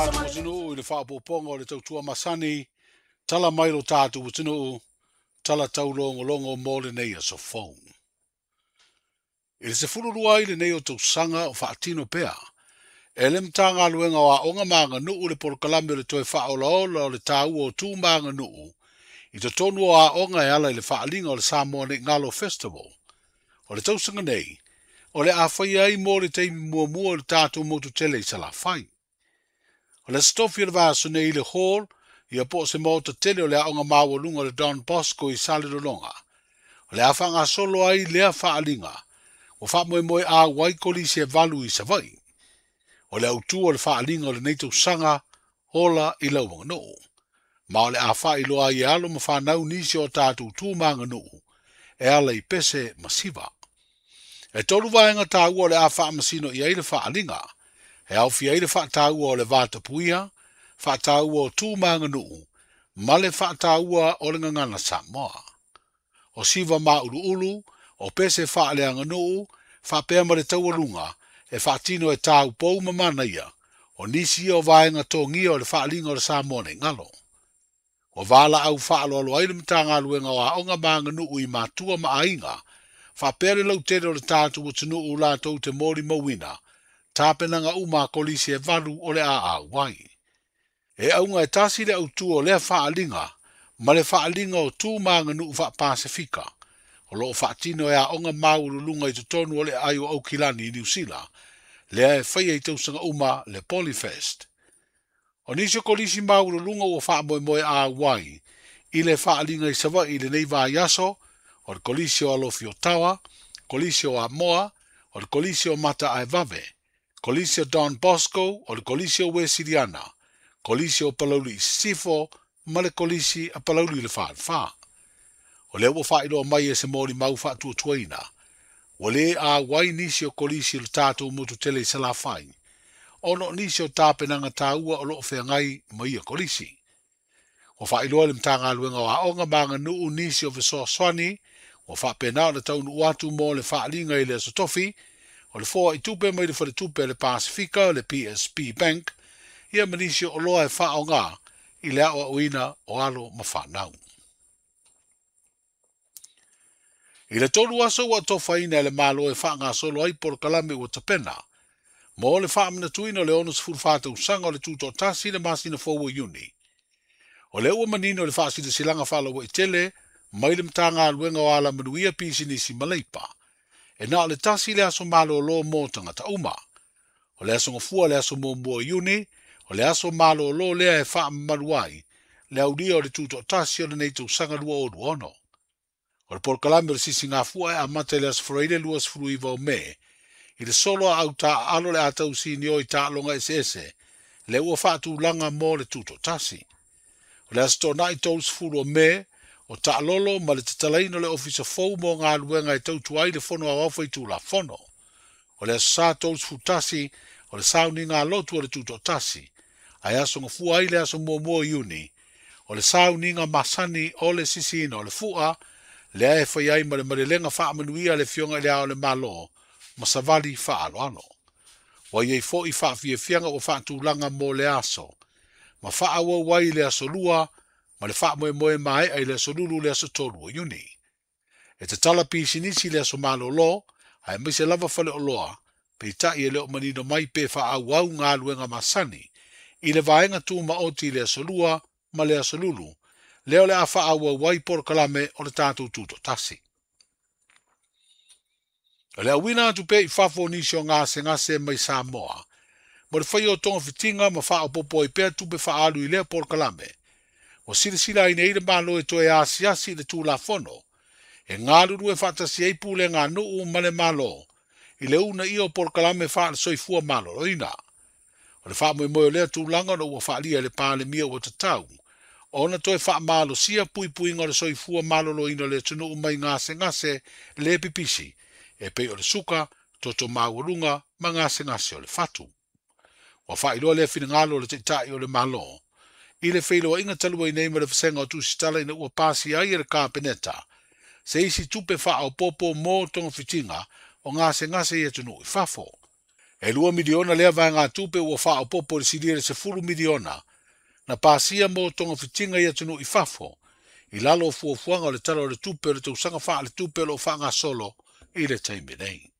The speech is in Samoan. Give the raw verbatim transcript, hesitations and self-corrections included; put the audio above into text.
Tatou atunuu i le faaopoopoga o le tautua masani, tala mai lo tatou atunuu, tala taulogologo mo lenei aso fou. I le sefululua ai lenei o tausaga o faatino pea, e le Matagaluega o Aoga ma Aganuu le polokalame o le toe faaolaola o le taua o tu ma aganuu i totonu o aoga e ala i le faaliga o le Samoa Nei Galo Festival. O le tausaga nei, o le a faia ai mo le taimi muamua o le tatou motu tele i Salafai. O le Aso Tofi o le vaiaso nei i le hall, ia po o se maota tele o le aoga maualuga o le Don Bosco i Salelologa. O le a faagasolo ai lea faaliga, ua faamoemoe auai kolisi e valu i Savaii. O le autu o le faaliga o lenei tausaga, ola i lau aganuu. Ma o le a faailoa ai e alo ma fanau nisi o tatou tu ma aganuu, e ala i pese ma siva. E tolu vaega taua o le a faamasino i ai le faaliga. E aofia ai le faataua o le vatapuia, faataua o tu ma aganuu, ma le faataua o le gagana Samoa. O siva mauluulu, o pese faaleaganuu, faapea ma le taualuga, e faatino e taupou ma manaia, o nisi ia o vaega togia o le faaliga o le Samoa Nei Galo. Ua valaau faaloalo ai le Matagaluega o Aoga ma Aganuu i matua ma aiga, faapea le lautele o le tatou atunuu latou te molimauina, tapenaga uma a kolisi e valu o le a auai. E auga e tasi le autu o lea faaliga, ma le faaliga o tu ma aganuu faapasifika, o loo faatino e aoga maualuluga i totonu o le aai o Aukilani i Niu Sila, lea e faia i tausaga uma le Polyfest. O nisi o kolisi maualuluga ua faamoemoe auai i le faaliga i Savaii i lenei vaiaso, o le kolisi o Alofi o Tawa, kolisi o Amoa, o le kolisi o Mataaevave, kolisi o Don Bosco, o le kolisi o Wesiliana, kolisi o Palauli i Sisifo, ma le kolisi a Palauli i le Falefa. O lea ua faailoa mai e se molimau faatuatuaina, ua le auai nisi o kolisi o le tatou motu tele i Salafai, ona o nisi o tapenaga taua o loo feagai ma ia kolisi. Ua faailoa le Matagaluega o Aoga ma Aganuu nisi o fesoasoani, ua faapena ona taunuu atu mo le faaliga i le Aso Tofi, o le foa i tupe mai le faletupe a le Pasifika, le P S P Bank, ia ma nisi o oloa e faaoga i le aoaoina o alo ma fanau. I le tolu aso ua tofaina e le Malo e faagasolo ai polokalame ua tapena, mo le faamanatuina o le onosefulufa tausaga o le tutoatasi le masina fou o Iuni. O lea ua manino le faasilasilaga faalauaitele mai le Matagaluega o Alamanuia Pisinisi ma Leipa. E na o le tasi le aso malolo mo tagata uma. O le aso gafua le aso muamua o Iuni, o le aso malolo lea e faamamalu ai le aulia o le tutoatasi o lenei tausaga lua o lua ono. O le polokalame o le sisigafua e amata i le aso Faraile luasefuluiva o Me, i le solo a au taaalo le a tausinio i taaloga eseese, le ua faatulaga mo le tutoatasi. O le aso Toonai tolusefulu o Me, o taalolo ma le tatalaina o le ofisa fou mo galuega e tautua ai le fono aoao faitulafono. O le aso Sa tolusefulu tasi, o le sauniga alotu o le tutoatasi, ae aso gafua ai le aso muamua o Iuni, o le sauniga masani o le sisiina o le fua, lea e fai ai ma le malelega faamanuia le Afioga i le Ao o le Malo, ma savali faaloalo. Ua iai foi faafiafiaga ua faatulaga mo le aso, ma faaauau ai le aso lua, ma le faamoemoe maea i le aso lulu le aso tolu o Iuni. E tatala pisinisi le aso malolo, ae maise lava faleoloa, peitai e le o manino mai pe faaauau galuega masani, i le vaega tumaoti i le aso lua ma le aso lulu, lea o le a faaauau ai polokalame o le tatou tutoatasi. O le auina atu pea i fafo o nisi o gasegase mai Samoa, mo le faia o togafitiga ma faaopoopo ai pea tupe faaalu i lea polokalame. Ua silasila ai nei le Malo e toe asiasi i le Tulafono, e galulue faatasi ai pulega a nuu ma le Malo, i le uunaia o polokalame faale-soifua maloloina. O le faamoemoe o lea tulaga ona ua faalia e le Palemia ua tatau, ona toe faamalosia puipuiga o le soifua maloloina o le atunuu mai gasegase le pipisi, e pei o le suka, toto maualuga ma gasegase o le fatu. Ua faailoa lea finagalo o le Taitai o le Malo, i le feiloaiga talu ai nei ma le vasega o tusitala ina ua pasia ai e le Kapeneta, se isi tupe faaopoopo mo togafitiga o gasegase i atunuu i fafo. E lua miliona lea vaegatupe ua faaopoopo i le silia i le sefulu miliona na pasia mo togafitiga i atunuu i fafo i lalo o fuafuaga o le Tala o le Tupe o le tausaga faaletupe o loo faagasolo i le taimi nei.